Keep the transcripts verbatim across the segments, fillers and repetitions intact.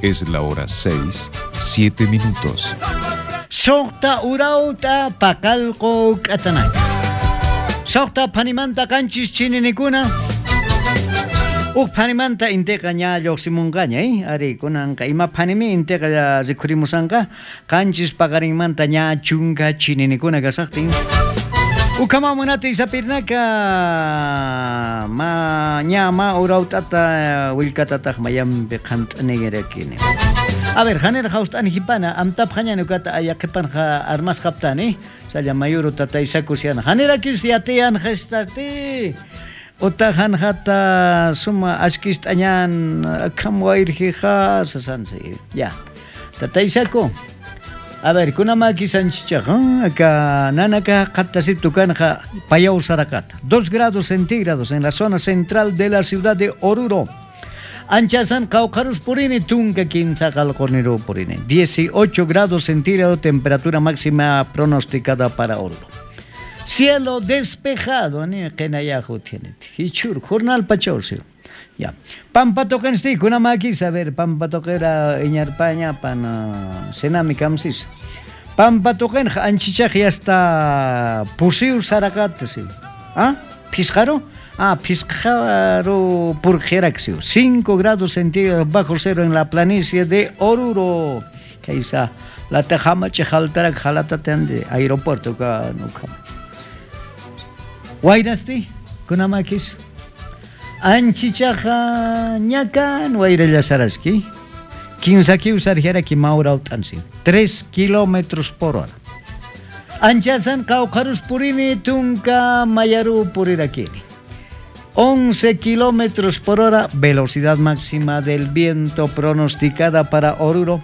Es la hora seis, siete minutos. Suqta urawta paqalqu k'atanaka. Suqta phanimanta qanchis chininikuna. Uj phanimanta intiqa ña lluqsimunqaña, eh? Ari kunanqa ima phanimi intiqa rikhurimusanqa qanchis paqarinmanta ña chunka chininikuna kasaqtin. Ukama munati isapirnaka ma ña ma urawtata willkatataq mayampi qant'anigirakini. A ver, hanera haust'ani hipana amtap hañani ukata ayaqipanqa armasqaptani salla mayuru tataysakusiana hanerakis yatiyan gestasti utajanjata suma ashkist'añan akam wayrjija sasansi ya tataysaku. A ver, kunamaki sanchichaqa acá nanaka qattasip tukanja payau sarakata dos grados centígrados en la zona central de la ciudad de Oruro. Anchasan qawqarus purini tunka kimsa qalqurniru purini dieciocho grados centígrados temperatura máxima pronosticada para Oruro. Cielo despejado ni qinayahu tiene hichur jornal pachawsi. Ya. Pampa toqensti kunamakis, a ver, pampa toqera iñarpaña pan senami kamsis. Pampa toqenja anchichaq yasta pusiu sarakatsi. ¿Ah? Pisjaro? Ah, pisjaro purjeraxio. cinco grados centígrados bajo cero en la planicie de Oruro. Kaisa la tejama chejaltarak jalatate aeropuerto ka nuka. Wayrasti kunamakis. Anchichaja ñakan wayrallasaraski. Kimsa kiusarjaraki maurawt'ansi. Tres kilómetros por hora. Anchasan qawqarus purini tunka mayaru purirakini. once kilómetros por hora, velocidad máxima del viento pronosticada para Oruro.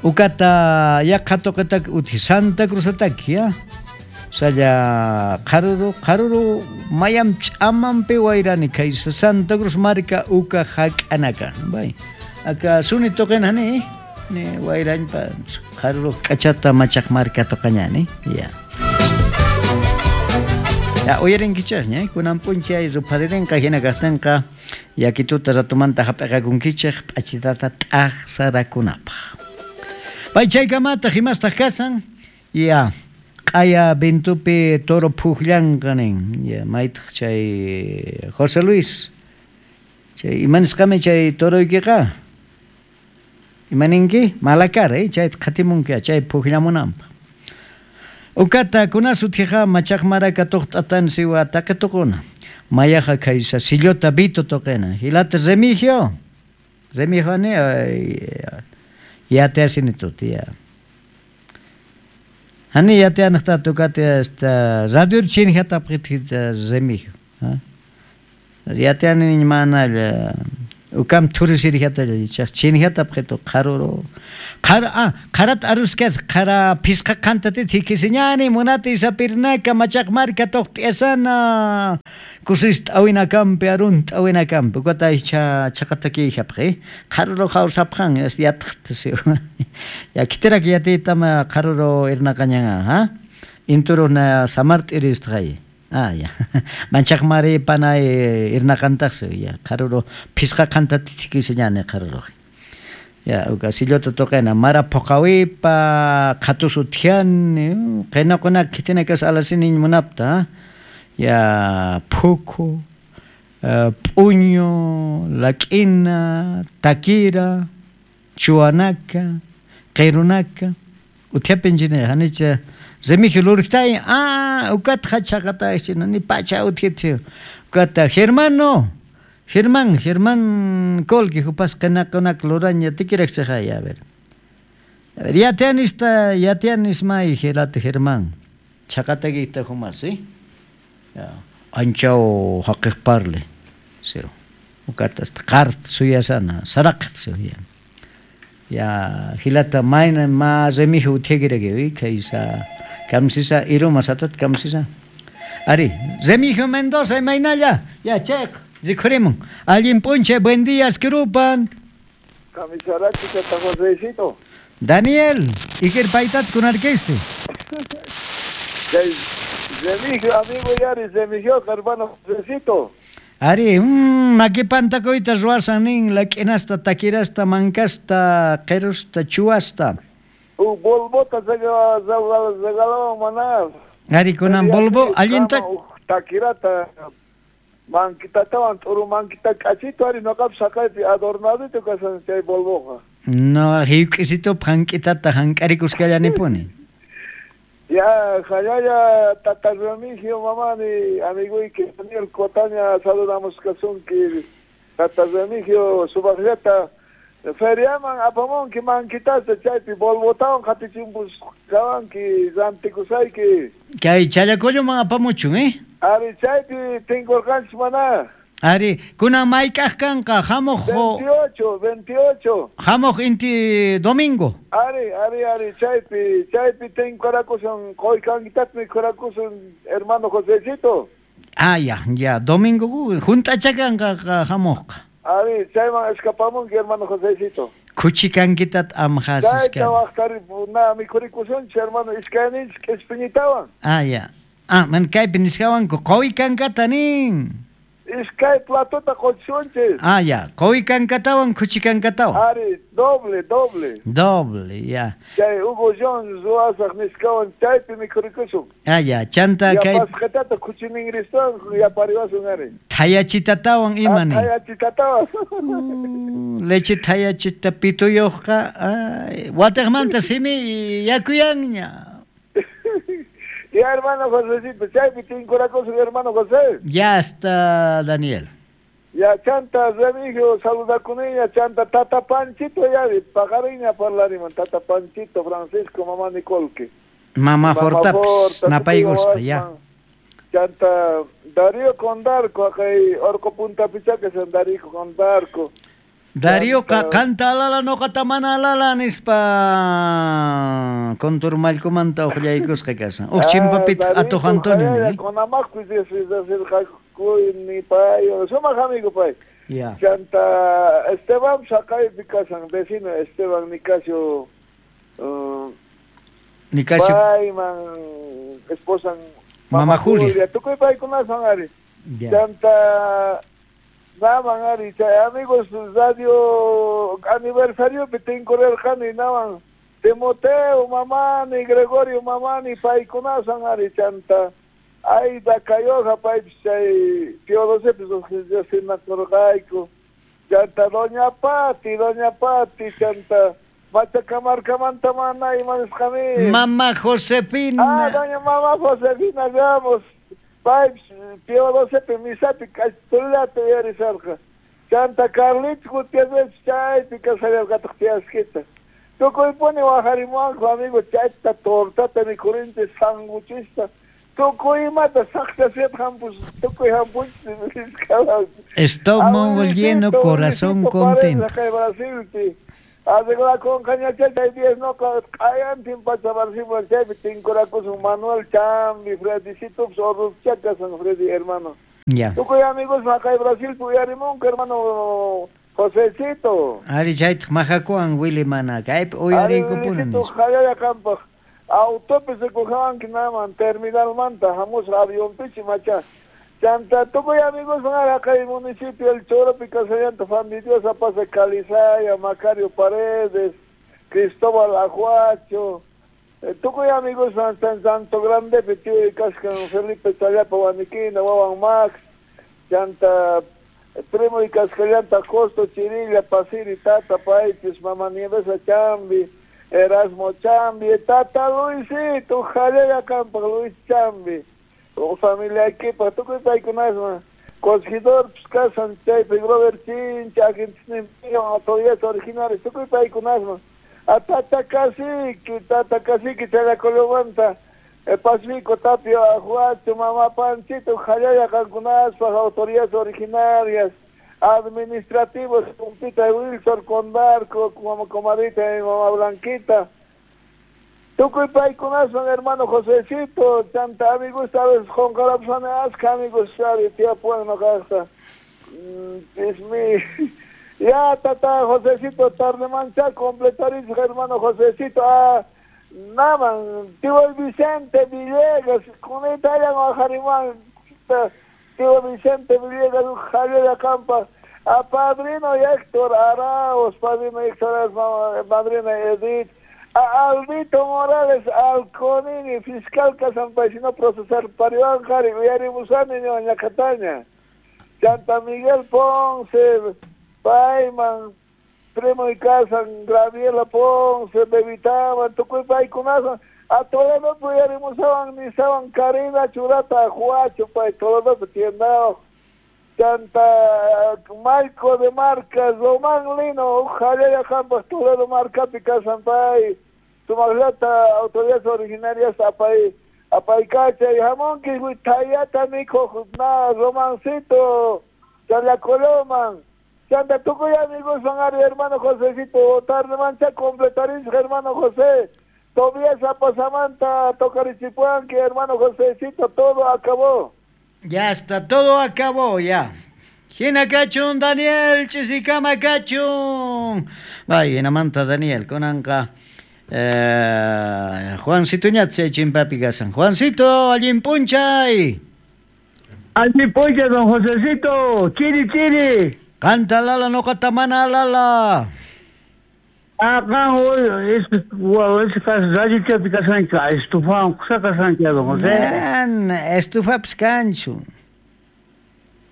Ukata yaqhatoqetak uti Santa Cruz ataki, ya. Saya qaruru qaruru mayam ch'amanpi wayrani kaysa Santa Cruz marka uka hak'anaka bay aka suni toqenani ni wayranpa qaruru k'achata machaq marka toqañani ya ya uyarinkichaqña kunan p'unchay rupharirinqa hina kaqtinqa yakituta ratumanta hap'iqakunkichaq p'achitata t'aqsarakunapaq bay chaykamataq imastaq kasan ya Q'aya vintupi toro phujllanqa nin ya maytaq chay José Luis chay imanisqami chay toroykiqa imaninki malakara eh chayta qhatimunki chay phujllamunanpaq ukata kunasuthiqa machaqmaraka tuqt'atan siwa taqituquna mayaqa kaysa sillota vito toqena hilata Remigio Remigio ni yateasini tuti ya Hani yateanaqta tukate esta radio chinjata pqitita Remigio ha yateani manalla ukam turisirjata chaq chinjata pqitu qaruru qara ah qarat aruskas qara pisqa qantati thikisiñani munati isapirnaka machaqmarka tuqt'iyasana kusis t'awinakampi arun t'awinakampi ukata icha chaqataki hapqi qaruru hawsapqan yatqtasi ya kitirak yatitama qaruru irnaqañan ha inturuna samart'iristqay ah ya manchaqmari panay irnaqantaqsi ya qaruru pisqa qantati thikisiñani qaruru ya uka sillota toqena mara phuqawipa qhatusu thiani qinaquna khitinakas alasini munapta ya phukhu p'uñu lak'ina takira chuanaka qirunaka uthiapinchina hanicha Remigio lurktay ah ukata chaqata ni pacha uthithi ukata Germano Germán, Germán Colque, jupas qinaquna luraña tikirakchaqay a ver. A ver, ya tianista, ya tianis may gelate Germán. Chaqatakita jumas, ¿sí? Ya. Anchao haqiqparle. Sí. Ukata qart suyasana, saraqt suya. Ya hilata mayna ma Remigio uthikirak'i kaysa kamsisa iruma satat kamsisa. Ari, Remigio Mendoza imaynalla. Ya chayqa Rikhurimun. Allin p'unchay, buen día, Esquirupan. Camisarachi, Tata Josecito. Daniel, Iker paytat kunarkiste. Remigio, amigo Yari, Remigio, hermano Josecito. Ari, mm, makipantakuyta ruwasan nin, lak'inasta, takirasta, mankasta, qirusta, chuwasta. U Volvota regalawan mana. Ari, kunan Volvo allinta takirata mankitatawan t'uru mankita k'achito ari noqapis saqaypi adornadito kasan chay Volvoqa. No, hiuk'isitup hank'itata hank'arikuskallanipuni. Ya, jayaya tata Remigio mamani, amiguyki Daniel Cotaña saludamos kasunki. Tata Remigio subaqllata feriaman apamunki mankitasta chaypi Volvotawan qatichimpus kawanki rantikusayki. Kay Challacolloman apamuchun, eh? Ari chaypi tinkurqanchis mana. Ari, kunan mayk'aq kanqa hamuq veintiocho, veintiocho. Hamuq inti domingo. Ari, ari, ari, chaypi, chaypi tinkurakusun, qoykankitatmi mikhurakusun, hermano Josecito. Ah, ya, ya, domingo junt'acha kanqa hamuqqa. Ari, chayman escapamunki, hermano Josecito. Kuchikankitat amhasiskan. Chayta waqtari na mikhurikusunchis, hermano, iskayninchis k'ispiñitawan. Ah, ya. Ah, man kaypi nisqawanku qoykankata nin. Iskay platota qochisunchis. Ah, ya. Qoykankatawan kuchikankatawan. Ari, doble, doble. Doble, ya. Chay Hugo Jones ruwasaq nisqawan chaypi mikhurikusun. Ah, ya. Chanta kay yapasqatata kuchiningristawan yapariwasun ari. Thayachitatawan ima nin. Thayachitatawan. Leche thayachita pituyuqqa wataqmanta simi yakuyanña. Ya, hermano Josecito, chaypi tinkurakusun, hermano José. Ya está, Daniel. Ya, chanta Remigio, saludakuniña, chanta Tata Panchito, ya, paqariña parlariman, Tata Panchito, Francisco, mamá Nicolque. Mamá Fortaps, napay gusta, ya. Chanta Darío Condarco, acá Orco Punta Pichaca, san Darío Condarco. Darío canta alala noqata mana alala nispa konturmallkumanta uqllaykusqa kasan. Uq chimpapitaq Atuq Antonio nin. Kunamaqpis ni pay, sumaq amigo pay. Ya. Chanta Esteban saqaypi kasan, vecino Esteban Nicasio. Uh, Nicasio. Payman esposan Mama Julia. Tukuy paykunasan ari. Chanta naman ari, chay amigos radio aniversario tinkurarqani naman Timoteo mamani, Gregorio mamani paykunasan ari chanta Aida Cayoja paypis chay Teodosepis sinakurqayku chanta Doña Pati, Doña Pati chanta Machacamarcamanta mana imanisqami Mama Josefina. Ah, Doña Mama Josefina Ramos. Pipes, Teodosepe, misapi, k'achtullata uyarisarqa. Chanta Carlitos Gutiérrez chaypi kasallarqataq tiyaskita. Tukuypuni waqarimuwanku amigo chayta tortata mikhurinchis sanguchista. Tukuy imata saqchasiyata hampus, tukuy hampunchis nisqawan. Estómago lleno, corazón contento. Kay Brasilpi. Arreglakunqañachá chay diez noqa q'ayantin pacha Brasilman chaypi tinkurakusun Manuel Chambi, Freddycitopis Orrupchá kasan Freddy hermano. Ya. Tukuy amigos maqay Brasilpi uyarimunku hermano Josecito. Ari chaytaq majakuwan Willy mana kaypi uyariykupuni nispa. Jayaya qampaq autopi rikujawanki naman terminalmanta hamusqa avionpichi macha. Chanta tukuy amigos kay municipio El Choropi kasallanta Fandidiosa pasa Calizaya, Macario Paredes, Cristóbal Ajuacho, eh, tukuy amigos San Santo Grande tío kaskan Felipe Challapa Huaniquina, Wawan Max, chanta primo y kaskallanta Costo Chirilla, Pasiri Tata Paitis, Mama Nievesa Chambi, Erasmo Chambi, Tata Luisito, Jalea Campa Luis Chambi. O familia equipa, tukuy paykunasman Corregidor kasan chaypi Robert Chincha, agentes autoridades originales, tukuy paykunasman a Tata Cacique, Tata Cacique Challacolomanta, Pacífico Tapio Ajuacho, Mamá Panchito, Jayaya qankunaspa, autoridades originarias, administrativos, Pumpita Wilson, Condarco, como comadrita y Mamá Blanquita. Tukuy paykunaswan hermano Josecito, chanta amigos, sabes, qonqarapsani aska amigos, sabe, tiyapuwan noqaqta. Es mi... Ya, tata Josecito, tarde mancha, completarismo, hermano Josecito, ah, naman, tío Vicente Villegas, con Italia, Jarimán, Tío Vicente Villegas, Javier Acampa, a padrino Héctor Arauz, padrino Héctor Arauz, madrina Edith, a Aldito Morales, Alconini, fiscal Casampaisino procesar Pariwan Jari, Uyarimusani, Ñacataña, Chanta Miguel Ponce, Payman, primo y casan, Graviela Ponce, Bebitaban, tukuy paykunasan, a Toledo uyarimusawan, nisawan, Karina Churata, Juacho, pay, Toledo tiendao, Chanta Marco de Marcas, Román Lino, Jalea Campos, Toledo Marcapi, Casampay, Tumaglata, autoridades originarias, Apay, Apaycacha, y Jamón, Tayata, Mico, Na, Romancito, Chalacoloman, Chanta, tukuy amigos, son hermano Josecito, tarde mancha, completaris, hermano José, Tobías Apasamanta, Tocarichipuanqui, hermano Josecito, todo acabó. Ya está, todo acabó, ya. Hina kachun, Daniel, chisikama kachun. Vaya, hinamanta Daniel, kunanqa eh, Juancito ñatse chimpapi kasan. Juancito, allin punchay. Allin punchay, don Josecito. Chiri, chiri. Canta lala, no mana lala. Ah, hoy es es radio chapi kasancha, estufa, kusa kasancha, don José. Man, estufapis kanchu.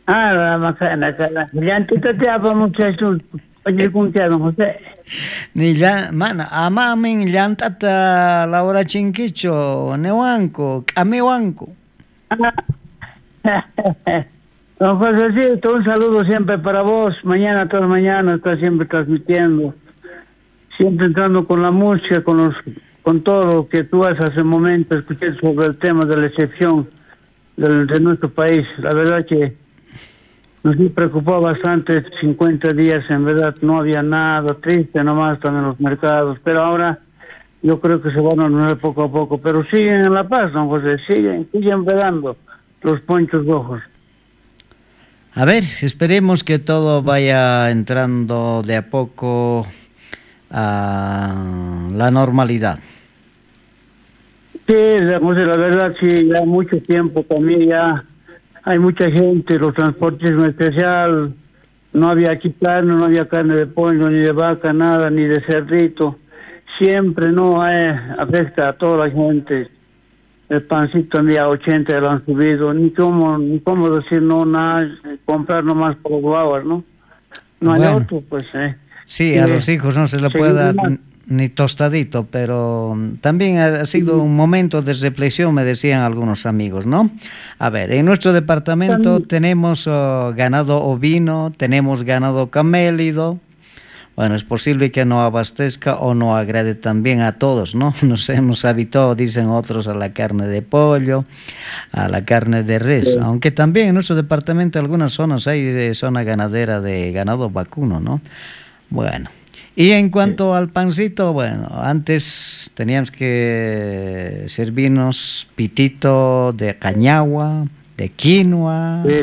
Ah, makana, kana. Llantita te apamuchachu, pañikuncha, don José. Ni llan, mana, amamin llantata laurachinkichu, newanku, k'amiwanku. Don Josecito, un saludo siempre para vos. Mañana, todas mañana, está siempre transmitiendo. Siempre entrando con la música, con los, con todo lo que tú haces hace un momento, escuché sobre el tema de la excepción del, de nuestro país. La verdad que nos preocupó bastante cincuenta días, en verdad no había nada, triste nomás también los mercados, pero ahora yo creo que se van a ordenar poco a poco, pero siguen en La Paz, don José, siguen, siguen velando los ponchos rojos. A ver, esperemos que todo vaya entrando de a poco a la normalidad. Sí, José, la verdad sí, ya mucho tiempo también ya hay mucha gente, los transportes en especial, no había aquí carne, no había carne de pollo, ni de vaca, nada, ni de cerdito, siempre no eh, afecta a toda la gente. El pancito también a ochenta lo han subido, ni cómo, ni cómo decir no, nada, comprar nomás por guaguas, ¿no? No hay Bueno. otro, pues, eh. Sí, a Sí. los hijos no se le Sí, puede dar no. ni tostadito, pero también ha sido un momento de reflexión, me decían algunos amigos, ¿no? A ver, en nuestro departamento También. tenemos oh, ganado ovino, tenemos ganado camélido. Bueno, es posible que no abastezca o no agrade también a todos, ¿no? Nos hemos habituado, dicen otros, a la carne de pollo, a la carne de res, Sí. aunque también en nuestro departamento, en algunas zonas hay de zona ganadera de ganado vacuno, ¿no? Bueno, y en cuanto al pancito, bueno, antes teníamos que servirnos pitito de cañagua, de quinoa. Sí.